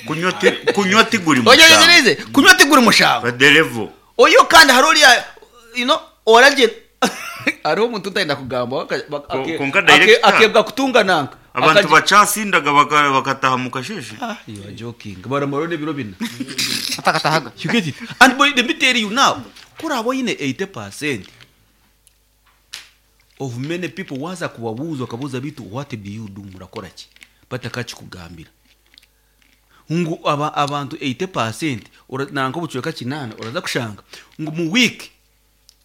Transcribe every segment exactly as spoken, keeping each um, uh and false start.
Kunywa ti- kunywa tiguri Oyegereze, kunywa tiguri mushango. Baderevo. Oyo kandi hari oriya, you know oragye, hariho omuntu utayenda kugamba, waka- bak- Ko- ake- konka ake- director. akebwa kutunga nanka. Abantu Akaje- bacasindaga baka- bakataha mu kasheshe. Ah, you are joking. Baramara n'ebiro bina. Atakatahaga. You get it? And boy, let me tell you now, kuraba oyine eighty percent of many people, waza kubabuuza, okabuuza bitu, "What do you do?" Murakora ki? Batakakikugambira ngu aba, abantu eighty percent ora- nanka obucweka kinaana, oraza kushanga ngu mu week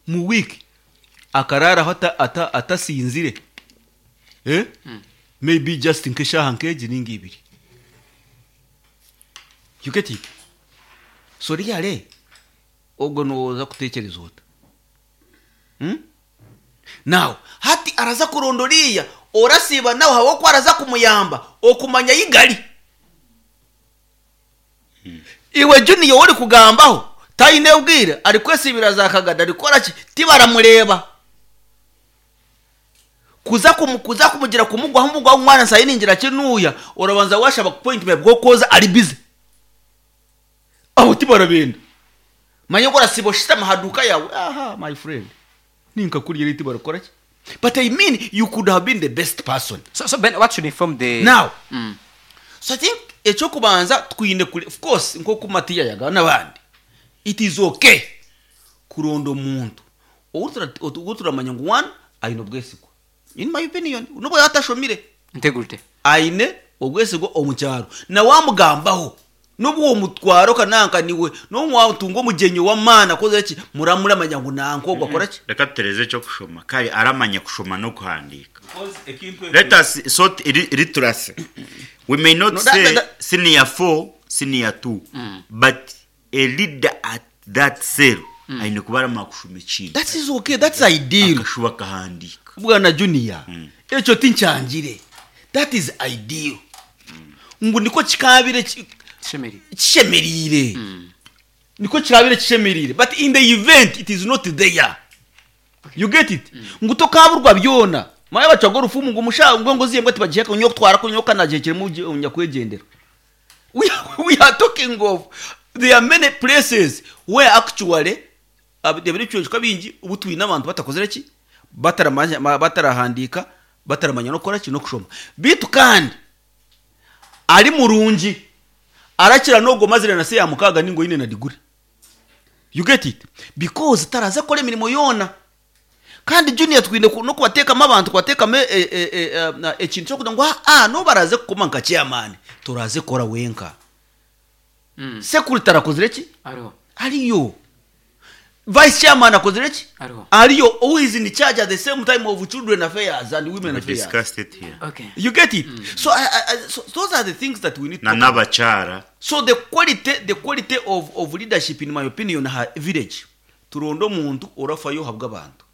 mu week akararaho ata- ata- atasinzire, eh? Maybe just nk'eshaaha nk'egi ninga ibiri. You get it? So really, ogwo noza kutekereza ota? Hmm? Now hati araza kuronda oriya orasiiba nawe habwokuba araza kumuyamba okumanya yigali. Iwe Junior ori kugambaho taine bwire, ari kwesibira za kagada, ari ki, tibaramureba kuza kumu, kuza kumugira kumugwaho umugwaho umwana nsayiningira kinuya, urabanza washaba appointment bwo koza ari busy, aho tibarabenda manye ngo urasiba ushitama haduka yawe. Aha, my friend, ninka kurya riti barakora ki? But I mean, you could have been the best person. So, so Ben, what should inform the Now, Mm. so I think ekyokubanza twine kuri, of course, nkoku Matiya yaga n'abandi, it is okay kuronda omuntu owu turamanya ngu one, aine obwesigwa. In my opinion, nubwo yatashomire, Integrity. Aine obwesigwa omu kyaro, nawamugambaho nubwo uwo mutwaro kananka niwe nomwatunga omugyenyi w'amaani akoze ki, muramuramanya ngu nanka ogwo akora ki. Reka tutereze icyo kushoma kare, aramanya kushoma no kuhandika. Let us sort iri- literacy. We may not No, that- say that- that- senior four, senior two, but a leader at that cell aine kuba aramanya kushoma ikintu. That is okay, that's ideal. Akashuba akahandika. Bwana Junior, ekyo tinkyangire, that is ideal, ngu niko kikabire ki- Shemeri. Kishemerire, niko kirabire kishemerire. But in the event it is not there, you get it? Ngu tokaburwa byona maye bacaga orufumu ngu musha ngo ngo ziyembwa tibagiheka nyo kutwara ko nyoka nagihekere nyakwegendera. we, are- we are talking of, there are many places where actually ebicweka bingi ubu twine abantu batakozere ki, bataramanya ma- batarahandika, bataramanya no kukora ki, no kushoma. Bitu kandi ari murungi, arakira nogwo mazire na se ya mukaga ningo ine na degree. You get it? Because taraza kora emirimo yona. Kandi Junior, twine ku- no kubateekamu abantu, kubateekamu e- e- e- e, ekintu kyokugira ngu ah, no baraze kukoma nka chairman, turaze kora wenka. Mm. Secretary arakozire ki? Ariho. Ariyo. Vice chairman akozire ki? Ariho. Ariyo. Who is in charge at the same time of children affairs and women We affairs. discussed it here. Okay. You get it? So, I, I, I, so those are the things that we need to Na talk about. n'abakyara. So the quality the quality of, of leadership, in my opinion, ha village turonda omuntu orafayo habwa abantu,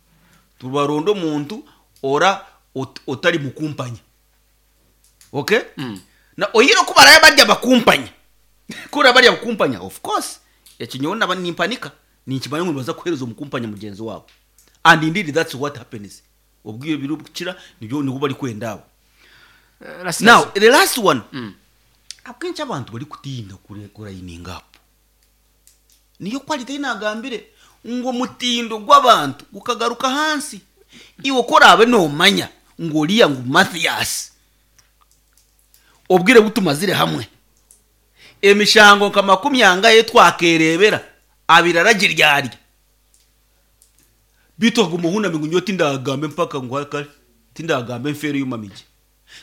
tubaronda omuntu ora ot, otari mukumpanya, okay? Mm. Na oyire kubaraya barya bakumpanya, kura barya bakumpanya, of course ekinyowe naba nimpanika, ninkimanya ngu nibaza kuhereza omukumpanya mugenzi wabo, and indeed that's what happens. Obwire biri kukira nibyo nibwo bari kwenda abo. Uh, last Now the last one, Mm. akenshi abantu bari kutinda kure- kurayininga up, niyo quality nagambire ngo mutindo gw'abantu gukagaruka hansi. Iwe korabe nomanya ngo oriya ngu Mathias, obwire butumazire hamwe emishango nka makumi angahe twakerebera abiri aragiryarya, bitu akaguma ohunami ngu nyowe tindagambe mpaka ngu kare tindagambe nfeere yumamije.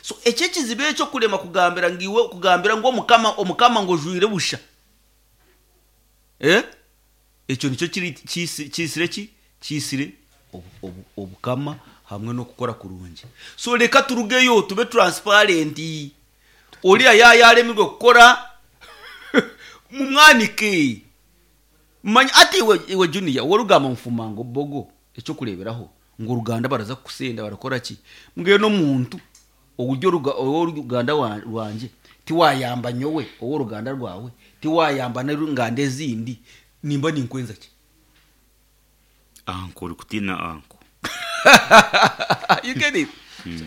So ekyo ekizibu ekyo kurema kugambira ngu iwe kugambira ngu omukama omukama ngo ojwire busha, eh? Ekyo nikyo kiri kisi- kisire ki kisire obu- obu- obukama hamwe n'okukora kurungi. So reka turugeyo tube transparent. Oriya yayaremirwe kukora, mumwanike. Manya ati iwe, iwe Junior, wowe rugamba mfuma ngo bogo ekyokureberaho ngo uruganda baraza kusenda barakora ki, mbwe no muntu uburyo ruga- wowe uruganda wa- rwanjye tiwayamba, nyowe wowe uruganda rwawe tiwayamba n'inganda ezindi, nimba ninkwenza ki? Anko uri kutina anko. You get it?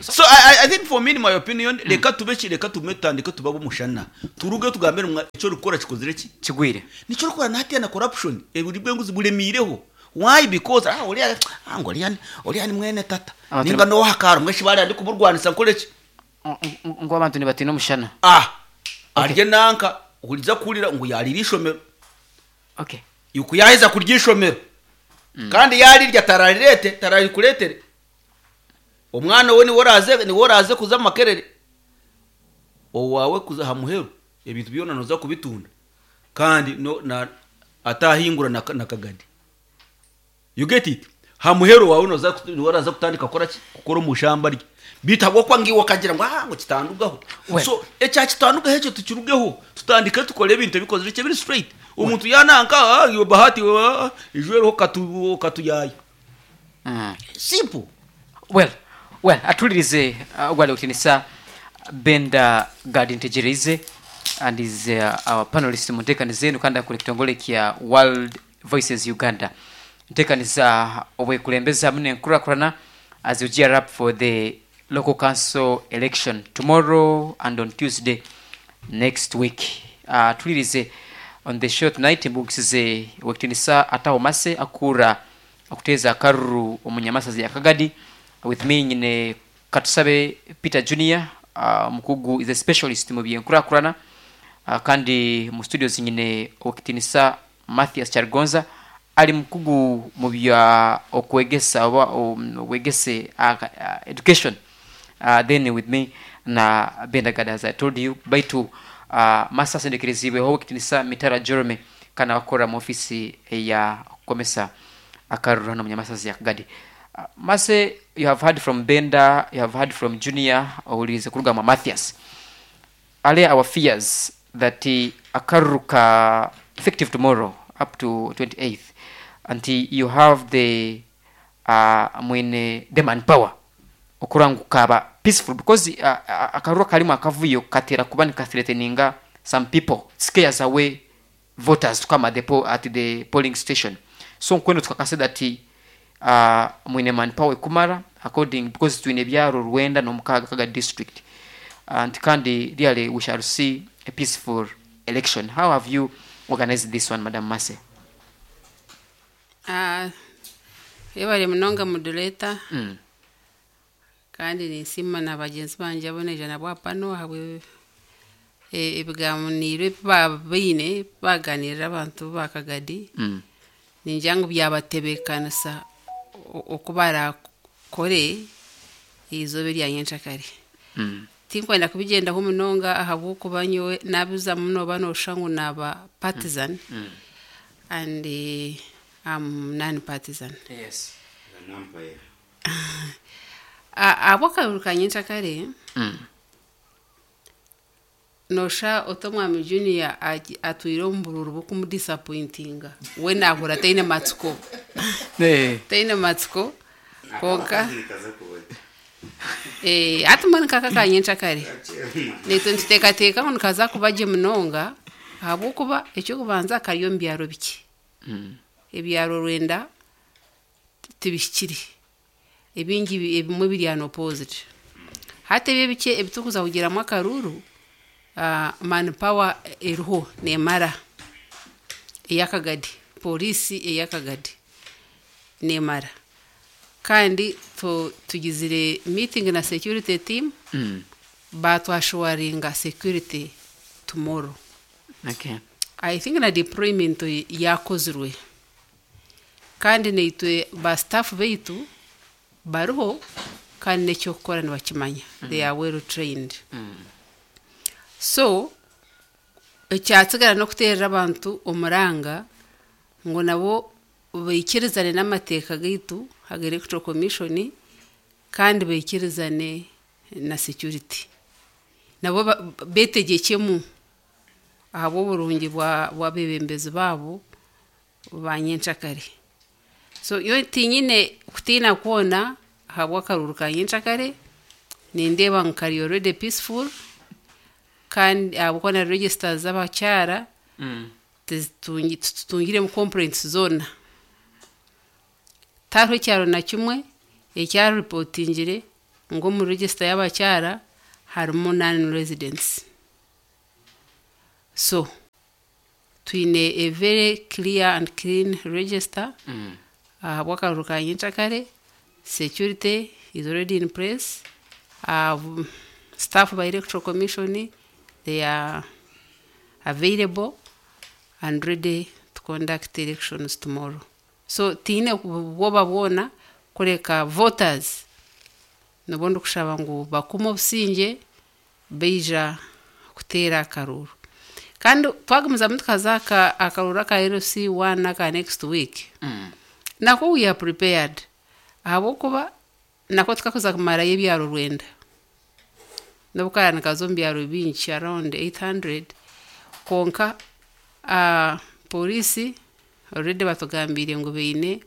So I, I, I think for me, in my opinion, reka tube ki, reka tume tutandike tubabe omushana, turuge tugambire mwa ekyo orikukora kikozire ki. Kigwire. Nikyo orikukora nahatiya na corruption eburi bw'enguzi buremiireho. Why? Because ah oriya, ah ngo oriya ni- oriya ni mwene tata. Abantu ninga n'owahakaaro mweshi bariya ndi kuburwanisa nkore ki. Ngu abantu nibatina omushana. Ah, arye nanka uriza kuhurira ngu yarira ishomero. Okay. Yuku yaheza kurya ishomero kandi yarirya tararirete, tararikuretere omwana we, niwe oraze niwe oraze kuza mu Makerere, owawe kuza ha muheru ebintu byona noza kubitunda kandi no na atahingura na, na kagadi. You get it? Ha muheru wawe noza niwe oraza kutandika kukora ki, kukora omu shamba rye bitagwa kwa ngiwe akagira ngo ah ngo kitandugaho. Well. So ekya kitandugaho ekyo tukirugeho, tutandike tukore ebintu ebikozire kye biri straight. Omuntu yananka, ah, iyo bahati, ah, ijwereho katu katuyaya. Mm. Simple. well well atulirize uh, gwali kutinisa Benda Gadi Ntegereize and is uh, our panelist mu nteekaniza eno, kandi akora ekitongole kya World Voices Uganda, nteekaniza obwekulembeza hamwe n'enkurakurana as you gear up for the local council election tomorrow and on Tuesday next week. uh, tulirize on the show tonight mbugisize wekutinisa Ataho Mase akura okuteeza akaruru omunyamasazi ya Kagadi. With me nyine Katusabe Peter Junior, uh, omukugu, is a specialist mu byenkurakurana, uh, kandi mu studios nyine owekitinisa Mathias Kyaligonza ali mukugu mu bya okwegesa oba um, obwegese, uh, uh, education. uh, then with me na Benda Gada, as I told you. Baitu uh, masa asendekerezibweho owekitinisa Mitara Jeremy kana wakora mu ofisi ya kukomesa akaruru hano munyamasazi ya Kagadi. uh, mase you have heard from Benda, you have heard from Junior, owulirize kuruga mu Mathias. Are our fears that uh, akaruru ka effective tomorrow up to twenty-eighth until you have the uh, mwene the manpower okura ngu kaba peaceful? Because uh, uh, akaruru karimu akavuyo katera kuba nikathreateninga some people, scares away voters to come at the, po at the polling station. So nkweno tukakase that uh, mwine manpower ekumara according, because twine ebyaro rwenda n'omukaaga Kaga district, and kandi really we shall see a peaceful election. How have you organized this one, Madam Mase? Ah, yebale munonga moderator. mm. Kandi ninsiima na bagyenzi bangye aboneija nabo pano ahabwe e- ebiganiro ebi babaine baganirira abantu ba Kagadi. Mm. Ningira ngu byabatebeekanisa o- oku barakore eizooba erya nyenkyakare. Mm. Tinkwenda kubigyendaho munonga ahabw'okuba nyowe nabizamu nooba noshusha ngu naaba partisan, Mm. and eh, I'm non-partisan. Yes. Ahabw'akaruru ka nyenkyakare, mm. nosha ota omwami Junior agi- atwire omu bururu bw'okumudisappointinga, we nahura taine matsiko. Eh. Taine matsiko konka eh, hati mbwenu kaka ka nyenkyakare naitwe nituteekateeka ngu nikaza kuba gye munonga ahabw'okuba ekyokubanza kari omu byaro bikye. Mm. Ebyaro rwenda tibihikire, ebingi bi- ebimwe biri unopposed. Hati ebyo ebikye ebitukuza kugiramu akaruru, uh, manpower eriho nemara ey'Akagadi, polisi ey'Akagadi nemara, kandi tu- tugizire meeting na security team. Mm. Batwassuringa security tomorrow. Okay. I think na deployment yakozirwe, kandi naitwe ba staff baitu bariho kandi n'ekyokukora nibakimanya. They are well trained. Mm. So ekyatsigara n'okuteerera abantu omuranga ngu nabo baikirizane n'amateeka gaitu aga Electoral Commission, kandi baikirizane na security, nabo ba- betegyekyemu ahabw'oburungi bwa bw'abeebembezi baabo ba nyenkyakare. So yo tinyine kutiina kwona ahabw'akaruru ka nyenkyakare. Nindeeba ngu kari already peaceful, kandi ahabw'okuba na registers z'abakyara Mm. tizitungi- titutungiremu complaints zoona. Tihariho ekyaro na kimwe ekyaripotingire. Ngu omu register y'abakyara harimu non residents. So twine a very clear and clean register. Mm. Ahabw'akaruru ka nyenkyakare, security is already in place. Uh, staff by Electoral Commission, they are available and ready to conduct elections tomorrow. So tiine bwoba bwona kureka voters nabo ndikushaba ngu bakume obusingye baija kuteera akaruru. Kandi twagumizamu tukaza aka akaruru aka L C one aka next week, Mm. nako we are prepared, ahabwokuba nako tukakuza kumarayo ebyaro rwenda n'obukara nikaza omu byaro bingi around eight hundred. Konka uh, polisi already batugambire ngu baine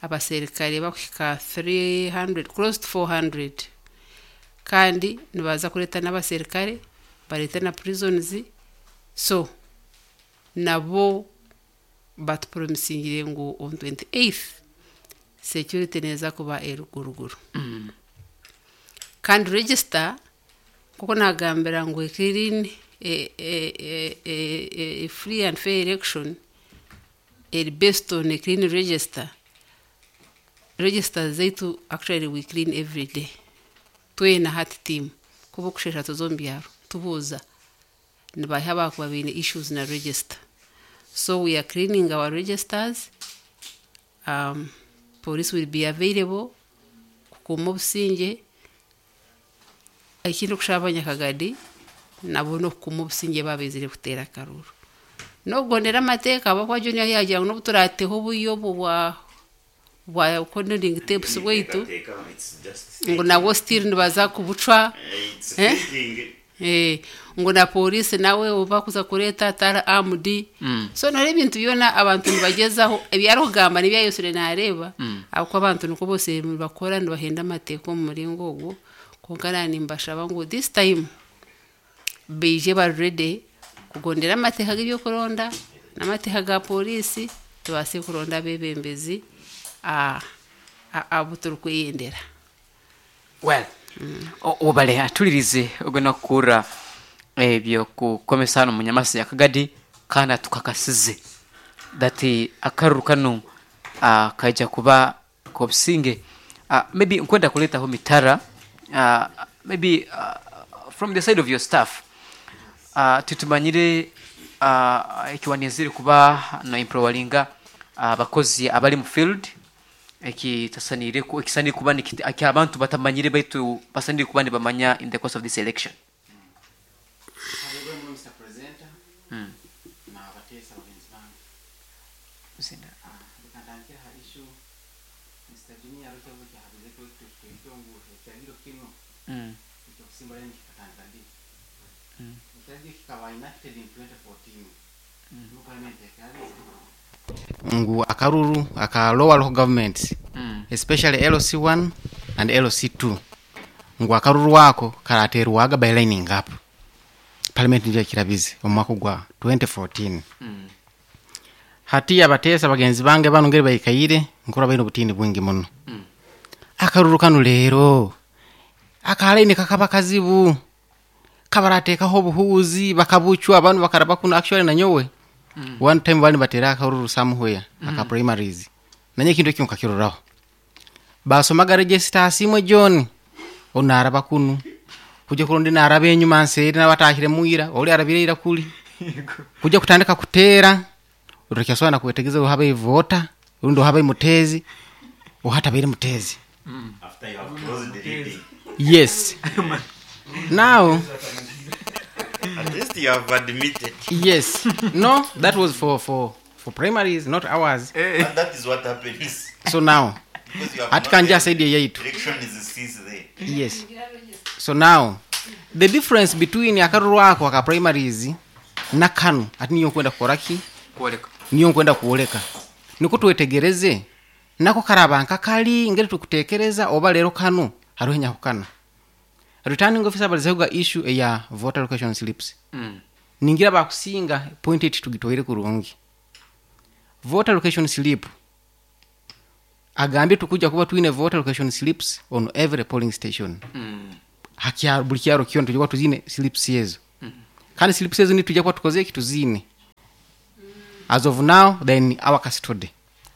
abaserikare bakuhika three hundred, close to four hundred, kandi nibaza kureeta n'abaserikare, bareete na prisons. So nabo batupromisingire ngu on twenty-eighth security neza kuba eruguruguru. Mm. Kandi register, kuko nagambira ngu clean a, a, a, a, a free and fair election eri based on a clean register. Register zaitu, actually we clean every day twena hati team, kuba okushesha tuza omu byaro tubuuza nibaha abakuba baine issues na register. So we are cleaning our registers. um, police will be available kukuuma obusingye. Ekindi, okushaba abanyakagadi nabo n'okukuuma obusingye babezire kuteera akaruru n'okugondera amateeka. Abakuba junior yagira ngu n'obu turateho obuyo obwo bwa bwa cordoning tapes bwaitu, ngu nabwo still nibaza kubucwa. Eh? Eh, ngu na polisi nawe oba kuza kureeta tara armed. Mm. So nore ebintu byona abantu nibagezaho ebyarikugamba nibyayosire nareeba, Mm. ahabwokuba abantu niko bose nibakora nibahenda amateeka omu muringo ogwo. Konka nani nimbashaba ngu this time baije bari ready kugondera amateeka g'ebyokuronda n'amateeka ga polisi, tubaase kuronda abebembezi ah, ah, abu turikweyendera. Well, o- obale atulirize ogenda kukura ebyo kukomesa hano munyamasi ya Kagadi, kandi atukakasize that akaruru kano uh, kaija kuba kobusinge. uh, maybe nkwenda kuletaho mitara, uh, maybe uh, from the side of your staff, uh, tutumanyire uh, ekiwanizire kuba no empowering'a abakozi abali mu field, ekitasanire ku ekisanire kuba nikiti- aki abantu batamanyire baitu basanire kuba nibamanya in the course of this election. Karibu Mister Presenter mm. na abateesa bagenzi bange. Zina. Ah, reka ntandikire ha issue Mister Junior arukyabo kyahabize ko twikyo ngu ekiragiro kino mm. ekyokusimba layini kikatandika ddi. Mm. Ekiragiro kikaba enacted in twenty fourteen, mu parliament ekirabize ngu akaruru aka lower local governments, Mm. especially L C one and L C two, ngu akaruru ako karaterwaga by lining up. Parliament niyo ekirabize omu mwaka gwa twenty fourteen. Mm. Hati abateesa bagenzi bange bano ngeri baikaire nkura baine obutini bwingi muno. Mm. Akaruru kano leero akalaini kakaba kazibu, kabarateekaho obuhuuzi bakabucwa abantu bakaraba kuno. Actually nanyowe Mm. one time bali nibateera akaruru somewhere aka primaries, nanye ekintu ekyo nkakiroraho, basomaga register asimwe John onaraba kunu kuja kurundi naraba enyuma nseeri nabatahire mwira oli arabire ira kuli kuja kutandika kuteera utakyasobola nakwetegeza ohaba ivota rundi ohaba imutezi ohatabaire mutezi. After you have closed the reading. Yes, now At least you have admitted. Yes, no, that was for for for primaries, not ours. And that is what happens. So now Because you have ati not kanja yet- saidi yaitu. Election is ceased there. Yes, so now the difference between akaruru ako aka primaries na kano ati niyo nkwenda kukoraki Kwoleka. Niyo nkwenda kuoleka niko twetegereze nako karaba nkakali ngeri tukutekereza oba lero kano hariho enyahukana. Returning officer balizehuga issue eya voter location slips. Mm. Ningira bakusinga point eight tugitwaire kurungi. Voter location slip Agambye tukuja kuba twine voter location slips on every polling station. Mm. Hakyaro buli kyaro kyona tujja kuba tuzine slips ezo. Kandi slips ezo nitujja kuba tukoze eki tuzine. As of now then our custody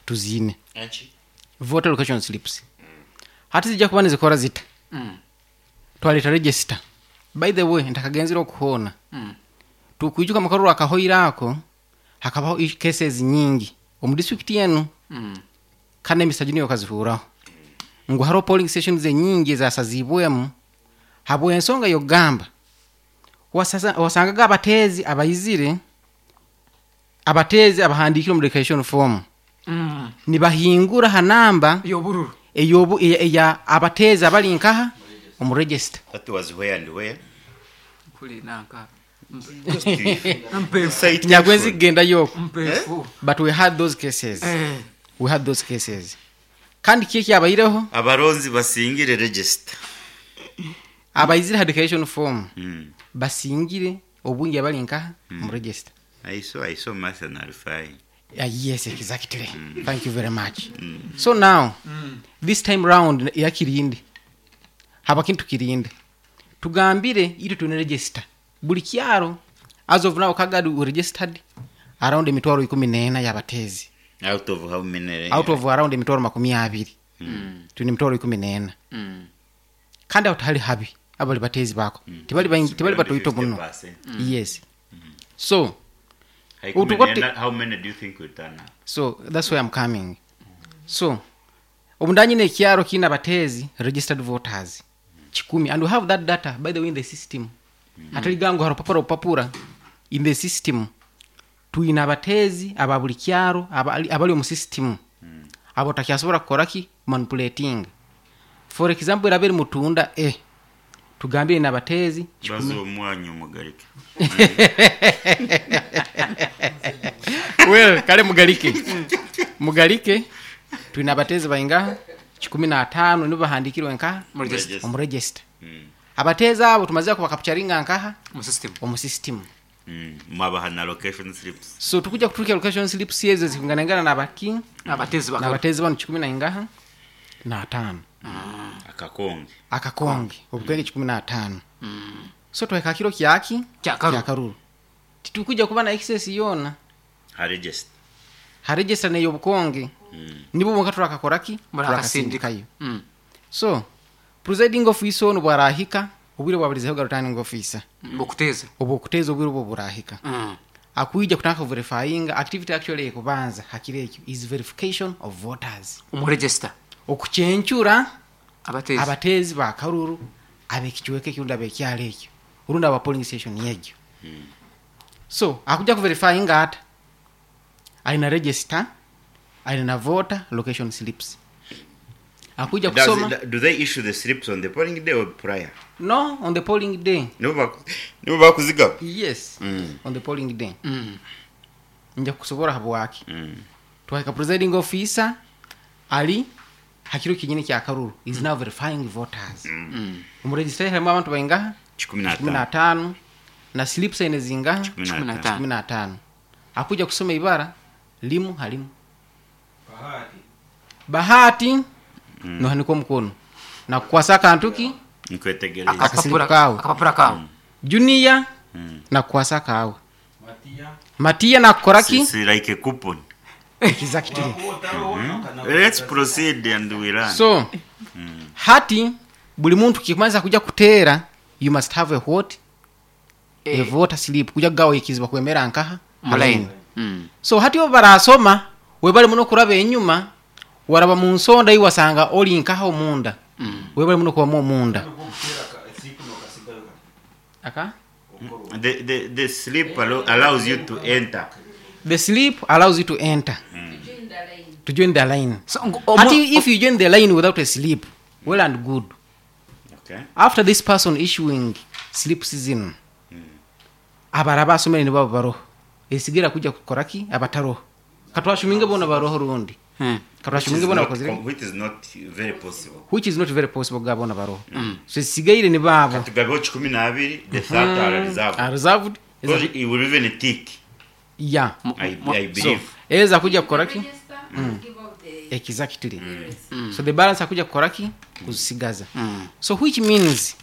tuzine. Voter location slips. Hati zijja kuba nizikora zita. Mm. Twaleta register. By the way ntakagenzera okuhona. Mm. Tukwijuka makaruru akahoira ako hakabaho i- cases nyingi omu district yenu. Mm. Kandi emisajja niyo kazihuraho ngu hariho polling stations enyingi ezasazibwemu habw'ensonga yogamba wasaza- wasangaga abateezi abaizire abateezi abahandikire omu declaration form Mm. nibahingura ha namba Yobururu. eyobu eya, eya abateezi abali nkaha omu register. That was where and where? Kuli nanka. Mpefu. Nyagwenzi kugenda yoko. Mpefu. But we had those cases. Eh. We had those cases. Kandi kiki abaireho Abaronzi basingire register. Abaizire ha declaration form Mm. basingire obwingi abali nkaha mu register. I saw I saw Martha Narufai. Uh, yes, exactly. Thank you very much. So now, this time round yakirinde haba kintu kirinde tugambire itu tune register buli kyaro. As of now Kagadi we registered around emitwaro ikumi n'ena y'abateezi. Out of how many? Out of around emitwaro makumi abiri. Tune emitwaro ikumi n'ena. Mm. Kandi aho tihali habi abali bateezi bako tibali baingi, tibali batoito muno. Yes, so Utukote- How many do you think will turn up? So that's where I'm coming. So omundanyine ekyaro kiina abateezi registered voters kikumi, and we have that data by the way in the system. Hataligango harupapura rupapura in the system twina abateezi aba buli kyaro abali abali omu system abo takyasobola kukoraki manipulating. For example, eraba eri mutunda e tugambire na abateezi Bazo kikumi. omwanyu mugarike. Well, kale mugalike mugalike twina abateezi baingaha kikumi n'ataano nibo bahandikirwe nkaha Mu register. omu register. Mm. Abateezi abo tumazire kubakapcharinga nkaha Mu system. omu system. Mm. Mwabaha na location slips. So tukuja kuturuka location slips ezo zikunganangana nabaki Abateezi bakaba. n'abateezi bano kikumi na ingaha n'ataano. Akakonge. Akakonge obukenge kikumi n'ataano. So twahika kiro kyaki Kyakaruru. Kyakaruru titukuja kuba na excess yona Ha register. Ha register neyo obukonge. Nibo bonka turakakoraki Murakasindika. turakasindikayo. Mm. So presiding officer ono bwarahika obwire bwaburizeho ga returning officer. Okuteeza. Obwo okuteeza obwire obwo burahika. Mm. Akuija kutaka verifying activity actually ekubanza hakiri ekyo is verification of voters. Omu register. Okuchenchura Abateezi. Abateezi bakaruru abekichweke kirundi abekyalo ekyo urundi aba polling station yegyo. So akuja kuverifying ata alina register, alina voter location slips, akuja Does kusoma. it, do they issue the slips on the polling day or prior? No, on the polling day. Nibo baku- nibo bakuzigaba. Yes. Mm. On the polling day. Mm. Nja kusobora habwaki. Mm. Twahika presiding officer ali hakiro kinyine kya karuru is now verifying voters. Mm. Omu register harimu abantu baingaha Kikumi na kikumi na ataano. ataano na slips ene zingaha Kikumi na Kikumi na ataano. ataano. kikumi na ataano. Akuja kusoma ibara limu halimu Bahati nohanika omukono nakukwasa akantu ki Nkwetegereza. Akasilipu Akapapura kawe. Akapapura kawe. Junior nakukwasa kawe Matiya nakukora ki. It's like a coupon. Exactly. Let's proceed and we run. So hati buli muntu kikumaliza kuja kuteera you must have a what a Eh. voter slip kuja kugawa ikiziba kwemera nkaha Mu line. Mm. So hati obu barasoma webali muno kuraba enyuma waraba mu nsonda iwasanga oli nkaha omunda. Webali muno kubamu omunda aka The, the, the slip allo- allows you to enter. The slip allows you to enter, to join the line. So ngo- omu- Hati if you join the line without a slip, well and good. Okay. After this person issuing slip season, abaraba asomere nibo baroho esigira kuja kukoraki abataroho katwashuminge bona baroho rundi. Mm. Which is, Katwashuminge bona not, bakozire com- which is not very possible. Which is not very possible ga bona baroho. So esigaire ni babo. Tugabeho kikumi n'abiri, the third are reserved. Are reserved. Because it will even tick, Yeah. I, I So believe. eza kuja kukoraki Register and give out the Exactly. So the balance akuja kukoraki kuzisigaza. So which means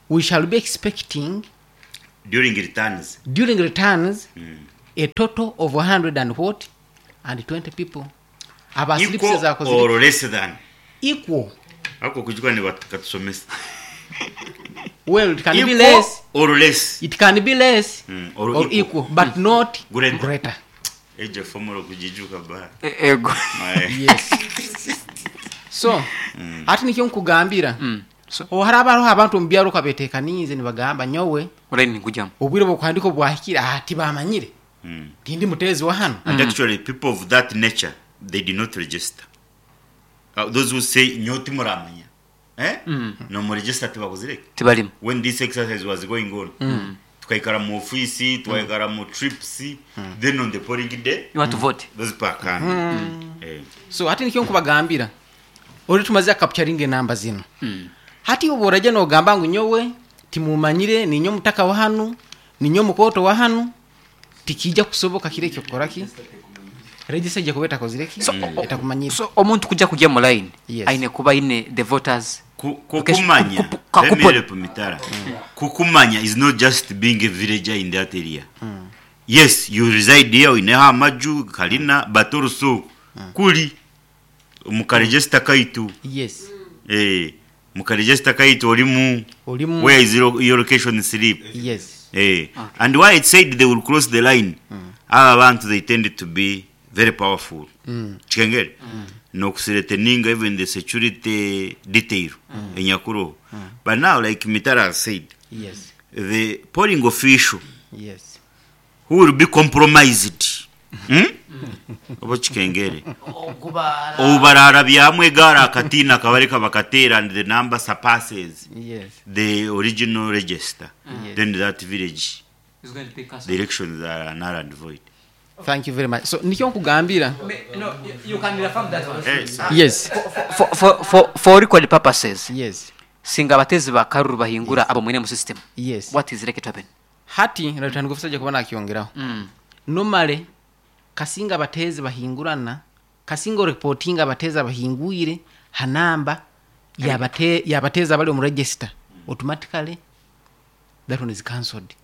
we shall be expecting During returns. During returns a total of one hundred and what and twenty people aba slips Equal zakoze or less than. Equal. Ako kujua ni watu katusomesa. Well, it can be Equal less. or less. It can be less Mm, or or equal. equal, but not Greater. greater. Ejo formula kujijuka ba. E- ego Yes, so ati nikyo nkugambira. Mm. So ohari hariho abantu omu byaro kabetekaniize nibagamba nyowe uraini nkujamu. Obwire bwokuhandika obwahikire aha tibamanyire tindi muteezi wa hano. And actually, people of that nature, they did not register. Uh, those who say nyoti muramanya. Eh? No mu register tibakuzireke. Tibalimu. When this exercise was going on, tukaikara mu ofisi, tukaikara mu trips, then on the polling day, You want to vote. Those pakana. Eh. So hati nikyo nkubagambira ori tumaze capturing enamba zino. Hati obu orajya nogamba ngu nyowe timumanyire, ninyo mutaka wa hanu, ninyo mukoto wa hanu, tikijja kusoboka kire ekyo kukoraki register ijja kuba etakozireki etakumanyire. So omuntu kujja kujya mu line Yes. aine kuba aine the voters Ku- kukumanya. Ku- ku- Let me kupo- help Mitara. Kukumanya is not just being a villager in that area. Yes, you reside here in amaju kalina, but also kuli mukaregister kaitu. Yes. Eh, mukaregister kaitu olimu. Olimu. Where is your, your location slip? Yes. Eh, and why it said they will cross the line, aba bantu they tend to be very powerful. Chikengere nokuthreateninga even the security detail enyakuro. But now, like Mitara has said, yes the polling official yes who will be compromised, hmm? Oba chikengere obubarara byamwe gara akatina kabareka bakatera and the number surpasses yes the original register, Yes. then that village Is going to be cancelled. the elections are null and void. Thank you very much. So nikyo nkugambira. No, you can reaffirm that one. Yes. Yes. For, for, for, for record purposes, Yes. singa abatezi ba karuru bahingura abo mwine mu system, Yes. what is likely to happen? Hati natandika ofisa kuba nakyongeraho. mm. Normally kasinga abateezi bahingurana, kasinga oreportinga abateezi abahingwire hanamba yabate yabateezi abali omu register, automatically that one is cancelled.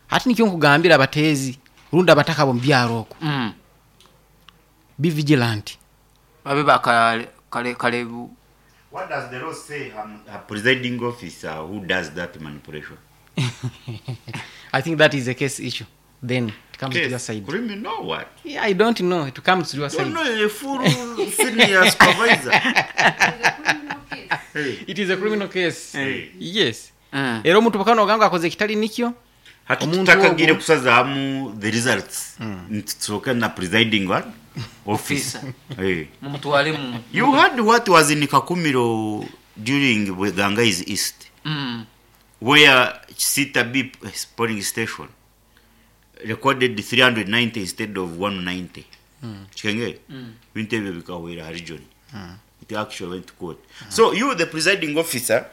Hati nikyo nkugambira abateezi rundi abataka bo mubyaro okwo, Mm. be vigilant. Babe bakale kale kale. What does the law say, um, a presiding officer who does that manipulation? I think that is a case issue, then it comes to your Case, side. criminal what? Yeah, I don't know, it comes to your Don't side. know a full senior supervisor. Hey. It is a criminal case. Hey. Yes. Mm. Era omuntu bukano ogamba akoze ekitali nikyo. Hati Omuntu tutakagire ogwo- kusazaamu the results, nitusoka na presiding what officer. Hey. Mumutwale mu You heard what was in Kakumiro during Bweganga East, mm. where Sita B polling station recorded three hundred ninety instead of one ninety. Chikenge? Bintu ebyo bikahwera region. It actually went to court. So you, the presiding officer,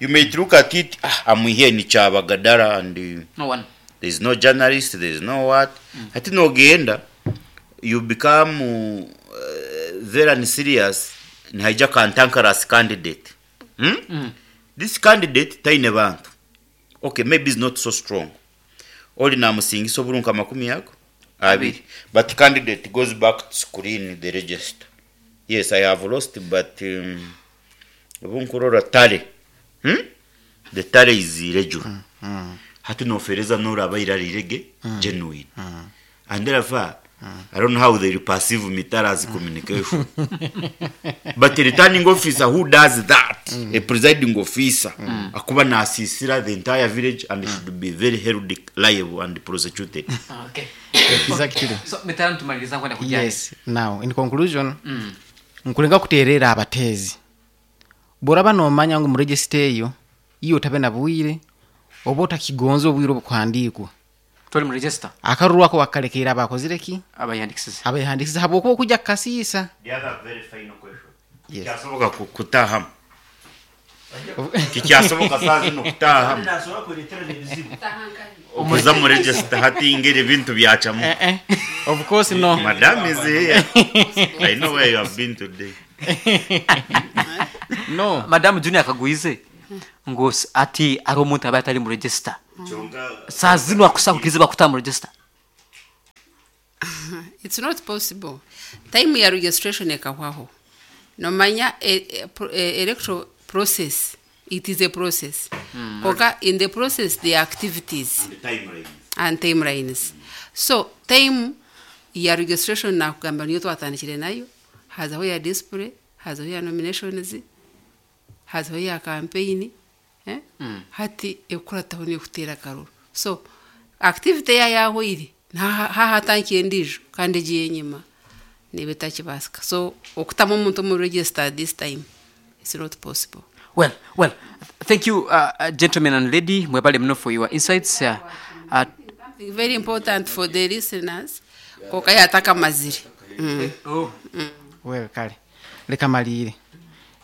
you may look at it, ah, I'm here in Chabagadara and uh, No one. There's no journalist, there's no what. Ati nogenda, you become uh, very unserious, nihaija cantankerous candidate. Hmm? Mm. This candidate taine bantu. Okay, maybe is not so strong. Oli namusingisa obulunka amakumi ago abiri. But candidate goes back to screen the register. Yes, I have lost, but um, obunkurora tally. Hmm? The tally is irregular. Hati nofereza noraba irarirege genuine. And therefore, I don't know how they perceive Mitara's communication. But a returning officer who does that, a presiding officer, akuba nasisira the entire village and should be very held liable and prosecuted. Okay. Exactly. So mitala ntumaliriza nkwenda kujja. Yes, now in conclusion, Mm. nkulenga kuterera abateezi bworaba nomanya ngu muregisita eyo iyo otabe na bwire oba otakigonza obwire obukuhandiikwa, Toli mu register. Akaruru ako wakalekeera abakozire ki? Abayandikisize. Abahandikisize habwokuba okujja kukasiisa. The other very final question. Yes. Kyasoboka ku- kutahamu. Tikyasoboka saa zino kutaaha okuza mu register hati ngeri ebintu byacamu. Eh, eh. Of course no. Madam is here. I know where you have been today. No. Madamu Junior akagwize ngu s- ati ari omuntu aba atari mu register saa zino akusakukiriza bakuta mu register. It's not possible. Time ya registration ekahwaho. Nomanya e, e, pro- e, electoral process, it is a process. Konka in the process there are activities and timelines. So time ya registration nakugamba niyo twatandikire nayo, hazaho ya display, hazaho ya nominations, hazaho ya campaign, eh? Hati ekukurataho niyo kuteera akaruru. So activity ya yahweire hahatankiye endiijo kandi egiye enyima niba etakibasika. So okutamu omuntu omu register this time, it's not possible. Well, well, thank you, uh, uh, gentlemen and lady, mwebale muno for your insights. uh, uh, Something very important for the listeners, konka yatakamazire mm. Oh. Well, kale leka malire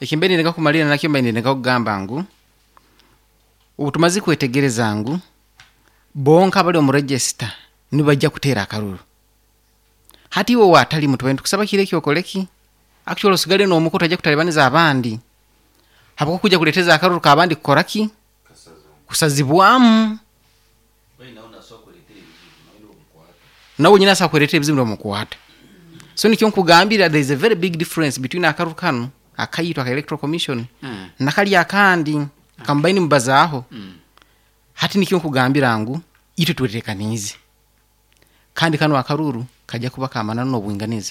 ekimbe nireka kumalira nakyo mbe nireka kugamba ngu ubu tumaze kwetegereza ngu bonka abali omu register nibajja kuteera akaruru. Hati iwe watali mutubaire ntukusaba kiro ekyokoleki actually osigale n'omuko tojja kutalibaniza abandi habwo kujja kuleteza akaruru kabandi kukoraki kusazibwamu nawe nyina asa kuleetera ebizibu nibamukwata. So nikyo nkugambira, there is a very big difference between akaruru kanu akayitwa aka Electoral Commission Mm. nakali akandi kamubaini mubazaaho. Hati nikyo nkugambira ngu itwe twetekaniize kandi kano akaruru kajja kuba kamananu n'obwinganiza.